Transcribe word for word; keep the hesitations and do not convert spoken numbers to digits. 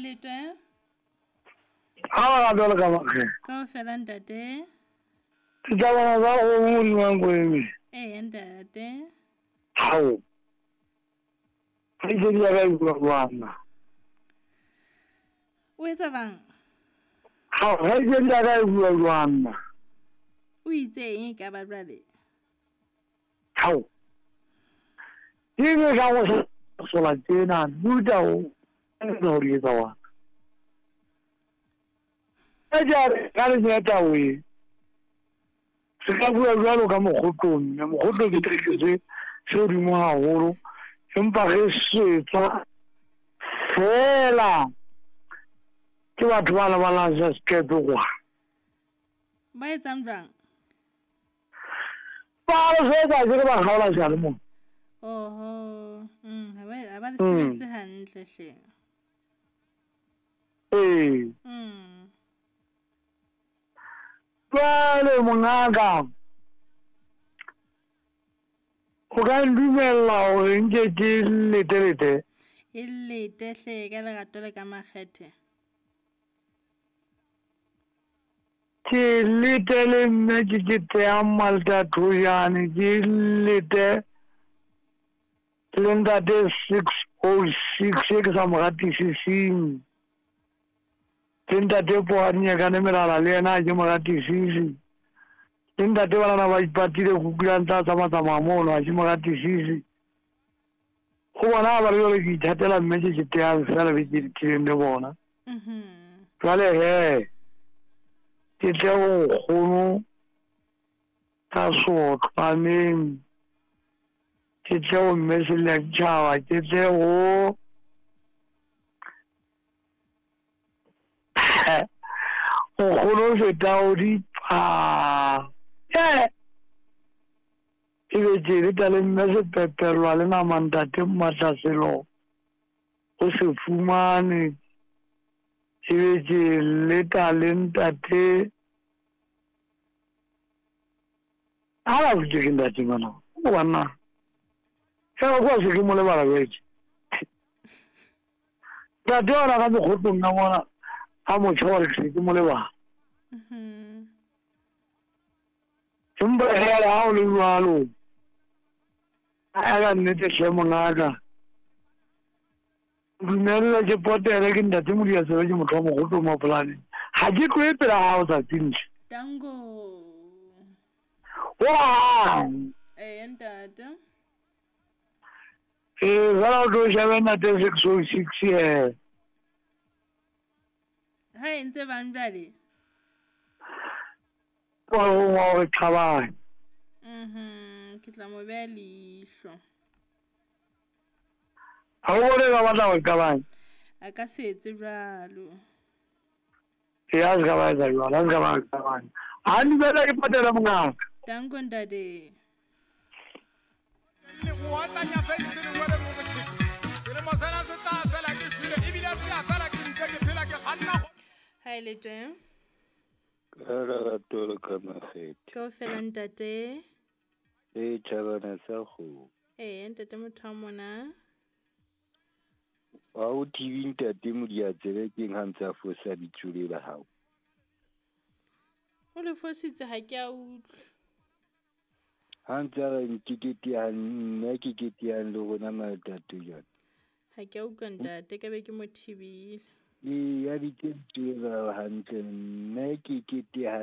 le teng? Ha ba jwalo ka makge. Kaofela ntate. Ke tla bona ba go modimo wa eme. Ee ntate. Hao. Ke ke ya ga bua bana. O etsa bang? Hao, ha ke ya ga bua bana. O itse eng ka ba jwale? Hao. Ke ne ka go sola tsena, buta o go re etsa wa. E ja ka le nyata we. Se ka bua jwalo ka mokgotong, mme mokgoto ke treketse se hodimo haholo, empa re setsa fela ke batho ba lebalang sa sekepe kwa. Ba etsang jwang? Ba re setsa ke ba kgaola seyalemoya. Oho, mm, ha ba ha ba le sebetse hantle hle. Ee. Mm. Jwale mongaka, o ka ndumella hore nke ke letelete? E lete hle ka lerato le ka makgethe. Ke lete le mme ke ke teya Malta Thojane, ke lete le ntate six oh six e ke sa mo ratisising. Le ntate Poadinyakane Melala le yena ha ke mo ratisise. Le ntate banana ba ipatile kukulang tsa tsamatsamaya mono ha ke mo ratisise. Ho bona ba re jwale ke ithatela mme ke ke teyang fela be ke ditileng le bona. Mhm. Jwale he, ke tle ho nkgono ka sotlwaneng, ke tle ho mme Seletjhaba, ke tle ho nkgono feta o dipa. Eh! E be ke leta le mme Sepepelwa le nama ntate Mmatlaselo o se fumane. E be ke leta le ntate ha ba botse ke ntate ngwana o banna. Fela kwa se ke mo lebala jwetse. Ntate ona ka mokgotong ka mona a motjha wa re ke se ke mo lebala. Mhm. Empa hela ha o le jwalo, a ka nnete hle mongaka. Dumella ke potele ke ntate Modiasebe ke motho wa mokgotong wa polaneng. Ha ke tlohe pela hao tsatsing le. Tango. Hohang. Ee ntate. Ee, fela o tlo shebe ntate six oh six he. Ha e ntse bang jwale? Wa ho wa re qabane. Mhm, ke tla mo beha leihlo. Ha o bone ba batla ho qabane? A ka se etse jwalo. Ee, a se ka ba etsa jwalo, a se ka ba qabane. Ha dumela ke patela mongaka. Tango ntate. Le go otlanya fense lengwe le mo botšhelo. Selemo sena se tla fela ke šwele, ebile se a fela ke ntse ke phela ke kganna go. Ha e le teng? Ka lerato le ka makgethe. Kaofela ntate. E tjhabana sa kgomo. Ee ntate motho wa mona. Ha o thibe ntate Modiatsebe keng ha ntse a fosa bitso le la hao? O le fositse ha ke a utlwa. Ha ntse a re nkeketehang nna ke ketehang le rona Malta Thojane. Ha ke a utlwa ntate ka be ke mo thibile. Ee, ya bitse lebitso la hantle nna ke ketehang.